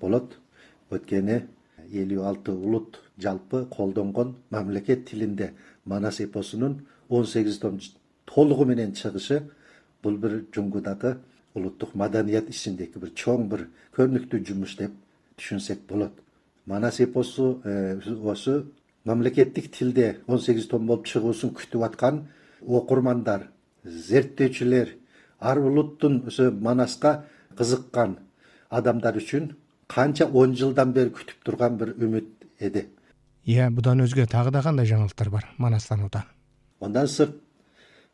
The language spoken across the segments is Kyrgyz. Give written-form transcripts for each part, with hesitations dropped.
болот. Өткени 56 улут жалпы колдонгон мамлекет тилинде манас эпосунун 18 том толугу менен чыгышы бул бир Жунгудагы улуттук маданият ичиндеги бир чоң бир көрүнүктүү жумуш деп түшүнсек болот. Манас эпосу осу мамлекеттик тилде 18 том болуп чыгуусун күтүп аткан окурмандар, зерттөөчүлөр, ар улуттун ошо Манаска кызыккан адамдар үчүн канча 10 жылдан бери күтүп турган бир үмүт эди. Будан өзгө тагы да кандай жаңылыктар бар Манастанууда? Ондан сырт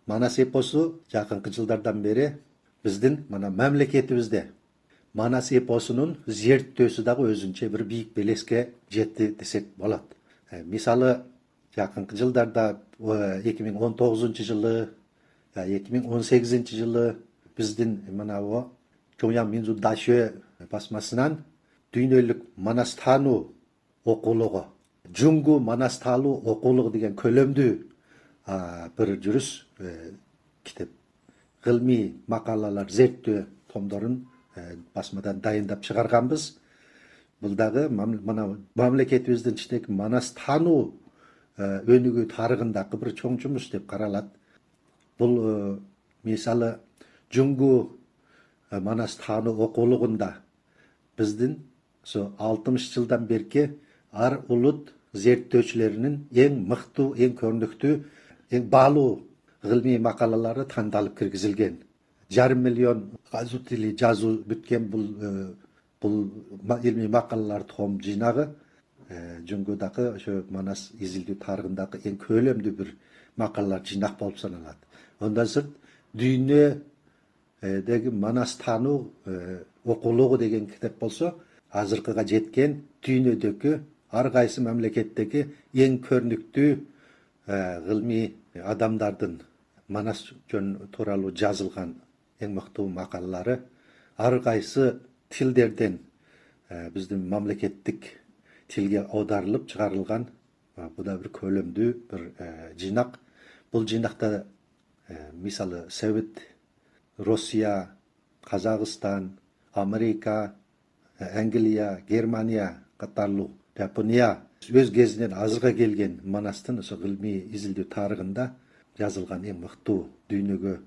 Манас эпосу жакынкы жылдардан бери биздин мамлекетибизде Манас эпосунун зерттөөсү дагы өзүнчө бир бийик белеске жетти десек болот. Мисалы, жакынкы жылдарда 2019 жылы, 2018 жылы биздин Чоңяң Минзу Дашө басмасынан дүйнөлүк Манас таануу окуулугу, Жунгу Манас таануу окуулугу деген көлөмдүү бир жүрүс китеп, гылмий макалалар, зерттөө томдорун басмадан дайындап чыгарганбыз. Бул дагы мамлекетибиздин ичиндеги Манас таануу өнүгүү тарыгындагы бир чоң жумуш деп каралат. Бул мисалы Жунгу Манас таануу окуулугунда биздин 60 жылдан берки ар улут зерттөөчүлөрүнүн эң мыктуу, эң көрүнүктүү, эң баалуу гылмий макалалары тандалып киргизилген. 5 миллион азу тили жазуу бүткөн бул илмий макалалар том жыйнагы Жунгудагы ошо Манас изилдүү тарыгындагы эң көлөмдүү бир макалалар жыйнак болуп саналат. Ондан сырт дүйнөдөгү Манас таануу окуулугу деген китеп болсо, азыркыга жеткен дүйнөдөгү ар кайсы мамлекеттеги эң көрүнүктүү гылмий адамдардын Манас жөн тууралуу жазылган эң мыктуу макалалары ар кайсы тилдерден биздин мамлекеттик тилге аударылып чыгарылган. Бул да бир көлөмдүү бир жыйнак. Бул жыйнакта мисалы Совет, Россия, Казакстан, Америка, Англия, Германия катарлуу, Япония өз кезинен азыркыга келген Манастын ошо гылмий изилдүү тарыгында жазылган эң мыктуу, дүйнөгө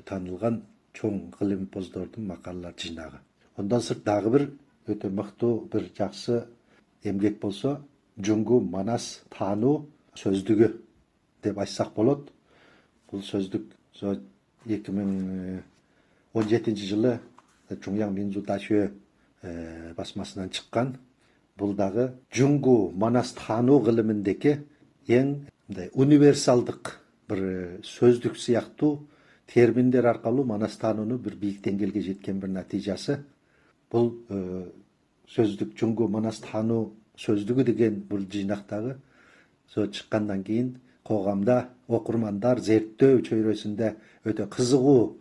таанылган чоң гылым эпоздордун макалалар жыйнагы. Ондан сырт дагы бир өтө мыктуу бир жакшы эмгек болсо, Жунгу Манас таануу сөздүгү деп айтсак болот. Бул сөздүк 2017 жылы Чоңяң Минзу Дашө басмасынан чыккан. Бул дагы Жунгу Манас таануу гылымындагы эң универсалдык бир сөздүк сыяктуу терминдер аркылуу Манас таанууну бир бийик деңгээлге жеткен бир натыйжасы. Бул сөздүк Жунгу Манас таануу сөздүгү деген бул жыйнактагы чыккандан кийин коомдо окурмандар зерттөө чөйрөсүндө өтө кызыгуу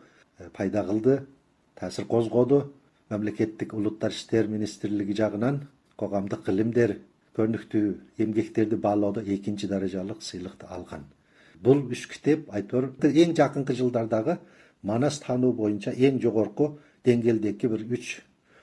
пайда кылды, таасир козгоду. Мамлекеттик улуттар иштер министрлиги жагынан коомдук илимдер көрүнүктүү эмгектерди баалоодо 2 даражалык сыйлыкты алган. Бул 3 китеп айтор эң жакынкы жылдардагы Манас таануу боюнча эң жогорку деңгээлдеги бир 3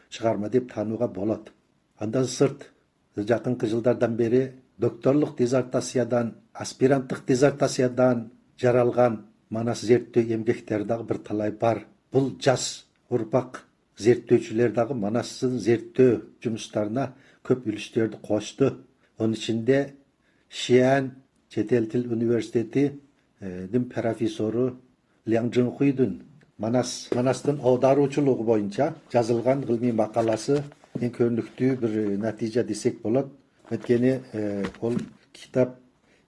чыгарма деп таанууга болот. Андан сырт жакынкы жылдардан бери докторлук диссертациядан, аспиранттык диссертациядан жаралган Манас зерттөө эмгектери дагы бир талай бар. Бул жас урпак зерттөөчүлөр дагы Манастын зерттөө жумуштарына көп үлүштөрдү кошту. Онун ичинде Шиан чет эл тил университетинин профессору Ляң Жыңхуйдун Манастын аударуучулугу боюнча жазылган гылмий макаласы эң көрүнүктүү бир натыйжа десек болот. Өткени ол китап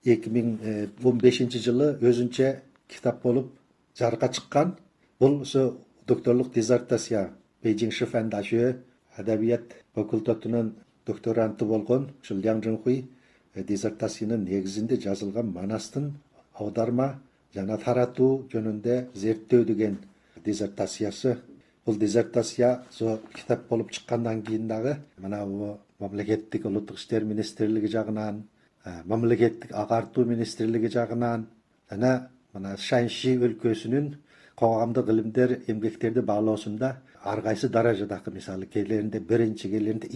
2015 жылы өзүнчө китап болуп жарыкка чыккан. Бул ошо докторлук диссертация Бейжиң Шифан Дашө адабият факультетинин докторанты болгон ушул Ляң Жыңхуй диссертациясынын негизинде жазылган Манастын аударма жана таратуу жөнүндө зерттөө деген диссертациясы. Бул диссертация китап болуп чыккандан кийин дагы мамлекеттик улуттук иштер министрлиги жагынан, мамлекеттик агартуу министрлиги жагынан жана Шаньши өлкөсүнүн коомдук илимдер эмгектерди баалоосунда ар кайсы даражадагы, мисалы, келеринде 1, келеринде